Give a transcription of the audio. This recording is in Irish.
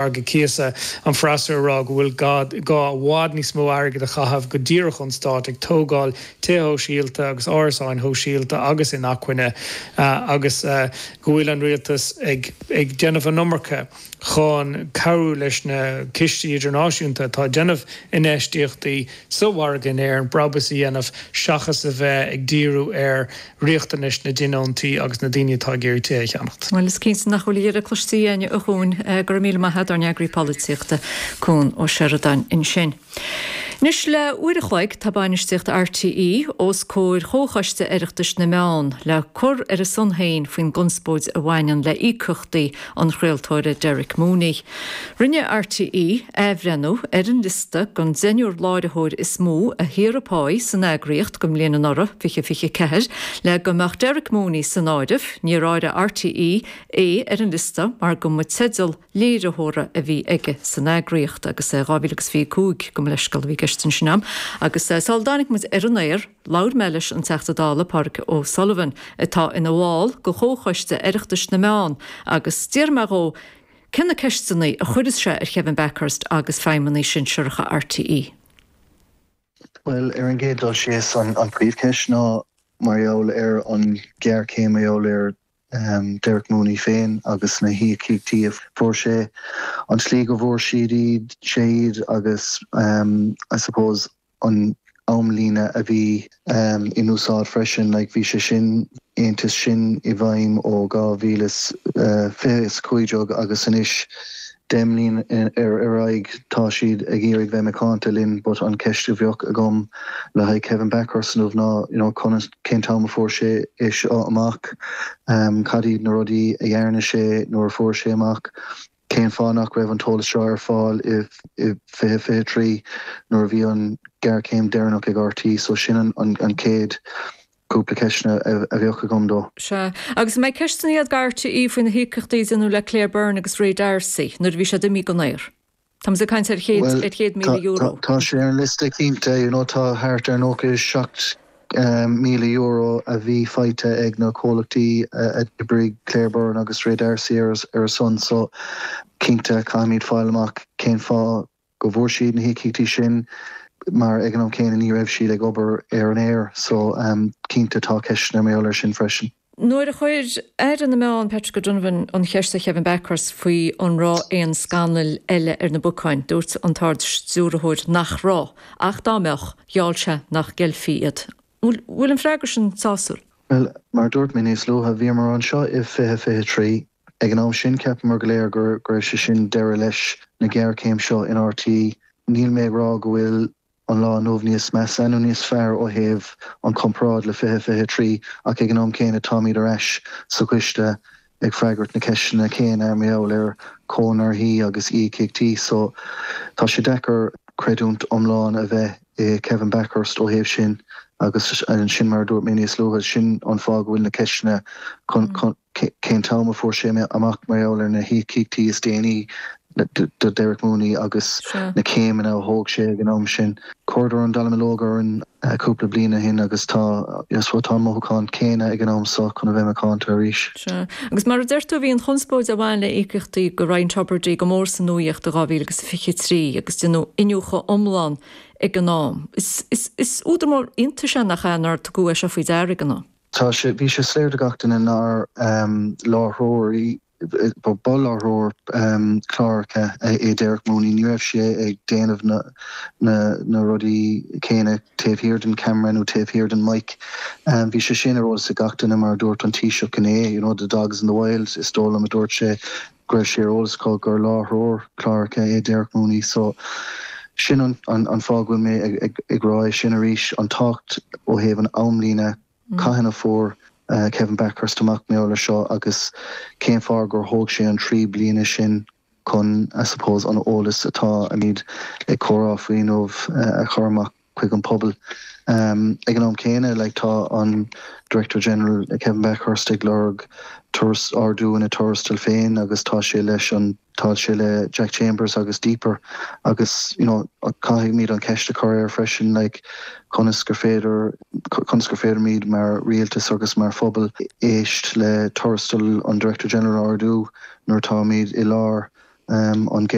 Margadh cíosa, an freasúra ag rá go bhfuil gá i bhfad níos mó airgid a chaitheamh go díreach ón stát ag tógáil tithe shóisialta agus árasáin shóisialta agus inacmhainne agus go bhfuil an rialtas ag déanamh an iomarca chun cabhrú leis na cistí idirnáisiúnta atá ag déanamh infheistíochtaí sa mhargadh in Éirinn brabús a dhéanamh seachas a bheith ag díriú ar riachtanais na dtionóntaí agus na daoine atá ag iarraidh tithe a cheannacht. Bhuel, is cinnte nach bhfuil a dheireadh cloiste againne, a Chuain. Go raibh míle maith agat, ár n-eagraí polaitíochta, Cuan Ó Seireadáin ansin. Anois le uair a chloig tá bainistíocht RTÉ os comhair Chomhchoiste Oireachtais na Meán le cur ar a son féin faoin gconspóid a bhaineann le íocaíochtaí an chraoltóra Derek Mooney. Rinne RTÉ athbhreithniú ar an liosta den deichniúr láithreoir is mó a shaothraigh páí san eagraíocht don bhliain anuraidh, 2024, le go mbeadh Derek Mooney san áireamh. Níor áireadh RTÉ é ar an liosta mar go mba teideal léiritheora a bhí aige san eagraíocht agus 2025, gabh mo leithscéal, a bhí i gceist ansin agam. Agus sula dtáinig muid ar an aer, labhair mé leis an Teachta Dála Pádraig O'Sullivan atá ina bhall de Chomhchoiste Oireachtais na Meán agus d'iarr mé dhó Cé na ceisteanna a chuirfeas sé ar Kevin Bakhurst agus feidhmeannaigh sinsearacha RTÉ? Bhuel, ar an gcéad dul síos, an príomhcheist ná mar gheall ar an ghéarchéim, mar gheall ar Derek Mooney féin agus na híocaíochtaí a fuair sé, an tslí go bhfuair siad iad, sé iad agus I suppose an amlíne a bhí in úsáid freisin, like bhí sé sin, aontas sin i bhfeidhm ó 2015 agus anois 10 mbliana ar aghaidh tá siad ag iarraidh bheith macánta linn but an cheist a bheadh agam le haghaidh Kevin Bakhurst inniu ná you know conas, cén t-am a fuair sé é seo amach, cad iad na rudaí a dhearna sé nuair a fuair sé amach. Cén fáth nach raibh an t-eolas seo ar fáil i 2023 nuair a bhí an ghéarchéim deireanach ag RTÉ? So sin an chéad cúpla ceisteanna a bheadh agam dó. Sea. Agus an mbeidh ceisteanna agat do RTÉ faoi na híocaíochtaí a déanadh le Claire Byrne agus Ray D'Arcy nuair a bhí siad imithe den aer? Táimid ag caint ar €100,000. Tá sé ar an liosta cinnte. You know tá thart ar 97 €1,000 a bhí faighte ag na comhlachtaí a d'oibrigh Claire Byrne agus Ray D'Arcy ar a son so cinnte caithfimid fáil amach cén fáth go bhfuair siad na híocaíochtaí sin mar ag an am céanna ní raibh siad ag obair ar an aer so cinnte tá ceisteanna mar gheall air sin freisin. Nuair a chuir Aire na Meán, Patrick O'Donovan, an cheist ar Kevin Bakhurst faoi an raibh aon scannail eile ar na bacáin, dúirt an tArd-Stiúrthóir nach raibh, ach dá mbeadh, gheall sé nach gceilfí iad. An bhfuil an freagra sin sásúil? Bhuel, mar a dúirt mé níos luaithe, bhíomar anseo i 2023. Ag an am sin, cheapamar go léir go raibh sé sin deireadh leis na géarchéim seo in RTÉ. Níl mé ag rá go bhfuil an lá inniu níos measa nó níos fearr ó thaobh an chomparáid le 2023 ach ag an am céanna táimid ar ais sa choiste ag freagairt na ceisteanna céanna mar gheall ar chonarthaí agus íocaíochtaí so tá sé deacair creidiúint iomlán a bheith i Kevin Bakhurst ó thaobh sin agus sin mar a dúirt mé níos luaithe sin an fáth go bhfuil na ceisteanna chun cén t-am a fuair sé amach mar gheall ar na híocaíochtaí is déanaí do Derek Mooney agus na céimeanna a thóg sé ag an am sin. Chuireadar an dallamullóg orainn cúpla bliain ó shin agus tá tá an mothúchán céanna ag an am seo chun a bheith macánta arís. Sea. Agus mar a deir tú, bhí an chonspóid a bhain le íocaíochtaí do Ryan Tubridy go mór sa nuaíocht i 2023 agus déanadh iniúchadh iomlán ag an am. Is údar mór iontais é nach ea nár tugadh é seo faoi deara ag an am. Tá sé, bhí sé soiléir do gach duine nár láithreoirí, ba láithreoir cláracha é Derek Mooney, ní raibh sé ag déanamh na na rudaí céanna taobh thiar den camera nó taobh thiar den mic. Bhí sé sin ar eolas ag gach duine mar a dúirt an Taoiseach inné, you know, the dogs in the wild, is dóigh liom a dúirt sé go raibh sé ar eolas acu gur láithreoir cláracha é Derek Mooney. So sin an an fáth go bhfuil mé ag rá é sin arís, an tábhacht ó thaobh an amlíne, cathain a fuair Kevin Bakhurst amach mar gheall air seo agus cén fáth gur thóg sé an 3 bliana sin chun, I suppose, an eolas atáimid ag comhrá faoi inniu a chur amach. chuig an pobal. Ag an am céanna, like, tá an Director General Kevin Bakhurst ag lorg turas, ardú ina tuarastal féin agus tá sé leis an, tá sé le Jack Chambers agus Deeper agus, you know, caithfimid an cheist a chur air freisin, like, conas gur féidir, conas gur féidir mar rialtas agus mar phobal éist le tuarastal an Director General a ardú nuair atáimid i lár. An.